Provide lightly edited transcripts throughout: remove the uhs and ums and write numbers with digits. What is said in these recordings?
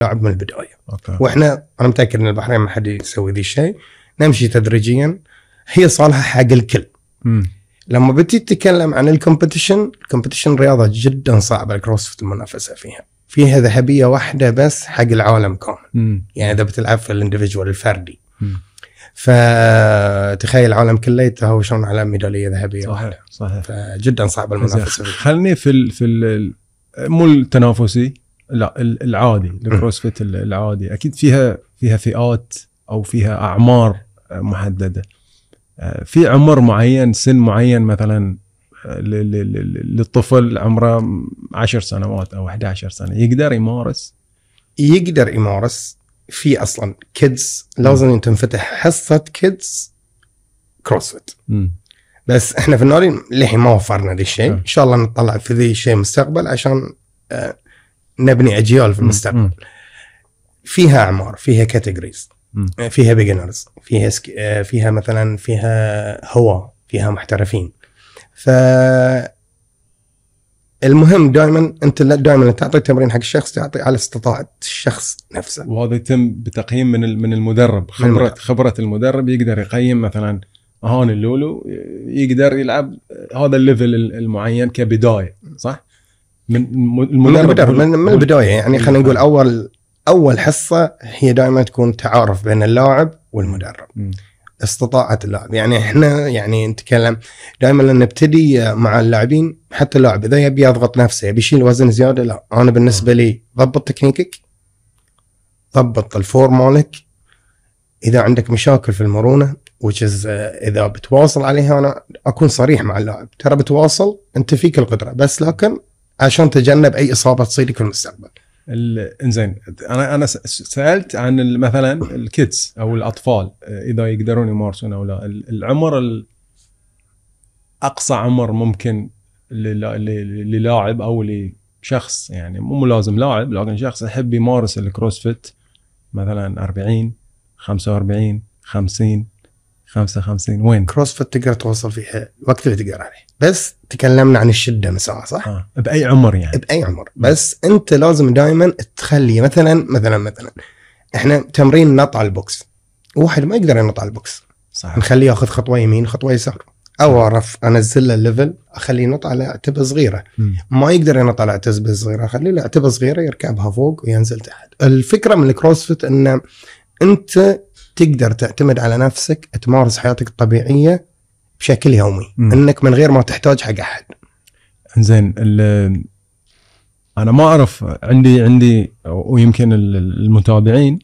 لاعب من البدايه. واحنا انا متاكد ان البحرين ما حد يسوي ذي الشيء، نمشي تدريجيا، هي صالحه حق الكل. لما بتي تتكلم عن الكومبيتيشن رياضه جدا صعبه الكروسفيت المنافسه فيها ذهبيه واحده بس حق العالم كامل. يعني اذا بتلعب في الانديفيدوال الفردي، فتخيل العالم كله يتهاوشون على ميداليه ذهبيه واحده. صحيح. فجدا صعبه المنافسه. خلني في مو التنافسي، لا العادي، الكروسفيت العادي اكيد فيها فئات او فيها اعمار محدده. في عمر معين، سن معين مثلا للطفل عمره 10 سنوات او 11 سنه يقدر يمارس في اصلا كيدز لازم تنفتح حصه كيدز كروسفيت. بس احنا في النادي للحين ما وفرنا ذي الشيء. ان شاء الله نطلع في ذي الشيء مستقبل عشان نبني اجيال في المستقبل. فيها اعمار، فيها كاتيجوريز، فيها بيجنرز، فيها مثلا فيها هواة، فيها محترفين. المهم دائما انت دائما تعطي التمرين حق الشخص، تعطي على استطاعه الشخص نفسه. وهذا يتم بتقييم من المدرب. خبره المدرب يقدر يقيم مثلا هون اللولو يقدر يلعب هذا الليفل المعين كبدايه، صح؟ من المدرب من البدايه. يعني خلينا نقول اول حصه هي دائما تكون تعارف بين اللاعب والمدرب. استطاعة اللاعب، يعني احنا يعني نتكلم دائما لما نبتدي مع اللاعبين، حتى اللاعب اذا يبي يضغط نفسه، يبي يشيل وزن زياده، لا انا بالنسبه لي ضبط تكنيكك، ضبط الفور مالك. اذا عندك مشاكل في المرونه اذا بتواصل عليها، انا اكون صريح مع اللاعب، ترى بتواصل انت فيك القدره، بس لكن عشان تجنب اي اصابه تصيرك في المستقبل. انزين، انا سالت عن مثلا الكيدز او الاطفال اذا يقدرون يمارسون او لا. العمر اقصى عمر ممكن للاعب او لشخص، يعني مو لازم لاعب، لكن شخص يحب يمارس الكروسفيت مثلا 40 45 50 55 وين؟ كروسفيت تقدر توصل فيها الوقت اللي تقدر عليه، بس تكلمنا عن الشده مساحه، صح؟ باي عمر يعني؟ باي عمر. بس انت لازم دائما تخلي مثلا احنا تمرين نط على البوكس، واحد ما يقدر ينط على البوكس، صح، نخليه ياخذ خطوه يمين خطوه يسار، او اعرف انزل له الليفل، اخليه ينط على عتبه صغيره. ما يقدر ينط على عتبه صغيره، اخليه له عتبه صغيره يركبها فوق وينزل تحت. الفكره من الكروسفيت ان انت تقدر تعتمد على نفسك، تمارس حياتك الطبيعيه بشكل يومي، انك من غير ما تحتاج حق احد. زين، انا ما اعرف، عندي ويمكن المتابعين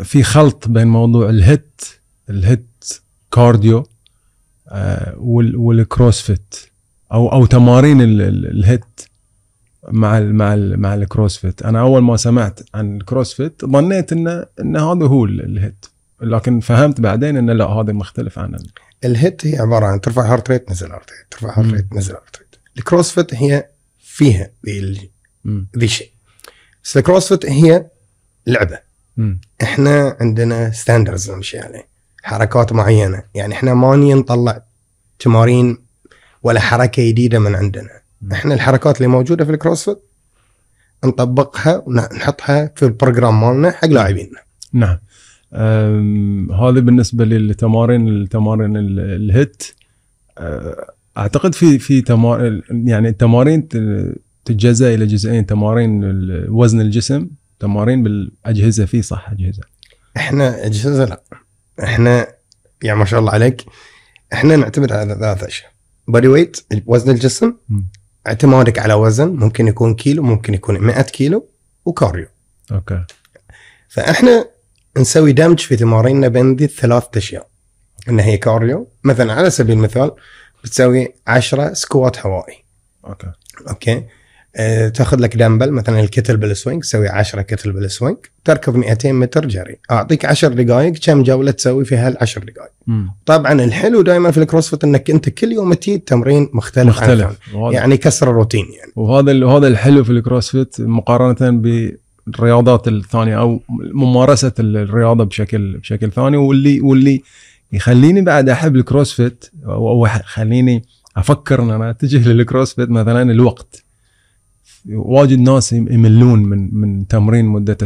في خلط بين موضوع الهيت كارديو والكروسفيت او تمارين الهيت مع الكروسفيت. انا اول ما سمعت عن الكروسفيت ظنيت ان هذا هو الهيت، لكن فهمت بعدين ان لا، هذا مختلف عن الهيت. هي عباره عن ترفع هارت ريت نزل هارت ريت، ترفع هارت ريت نزل هارت ريت. الكروسفيت هي فيها ذي شيء، بس الكروسفيت هي لعبه. احنا عندنا ستاندرز نمشي عليه، حركات معينه، يعني احنا ما نطلع تمارين ولا حركه جديده من عندنا. احنا الحركات اللي موجوده في الكروسفيت نطبقها ونحطها في البروجرام مالنا حق لاعبيننا. نعم. هذا بالنسبه للتمارين الهيت. اعتقد في يعني التمارين تتجزأ الى جزئين، تمارين وزن الجسم، تمارين بالاجهزه. في صح اجهزه؟ احنا اجهزه لا، احنا يعني ما شاء الله عليك، احنا نعتمد على 3 اشياء: بودي ويت وزن الجسم، اعتمادك على وزن ممكن يكون كيلو، ممكن يكون 100 كيلو، وكارديو. اوكي. فاحنا نسوي دمج في تماريننا بين ذي 3 اشياء، ان هي كارديو. مثلا على سبيل المثال بتسوي 10 سكوات هوائي. اوكي. تاخذ لك دمبل مثلا الكتل بالسوينج، تسوي 10 كتل بالسوينج، تركض 200 متر جري، اعطيك 10 دقائق، كم جوله تسوي في هال10 دقائق. طبعا الحلو دائما في الكروسفيت انك انت كل يوم تجي تمرين مختلف. يعني كسر الروتين يعني. وهذا الحلو في الكروسفيت مقارنه بالرياضات الثانيه او ممارسه الرياضه بشكل ثاني. واللي يخليني بعد احب الكروسفيت او خليني افكر ان انا اتجه للكروسفيت مثلا الوقت. واجد ناس يملون من تمرين مده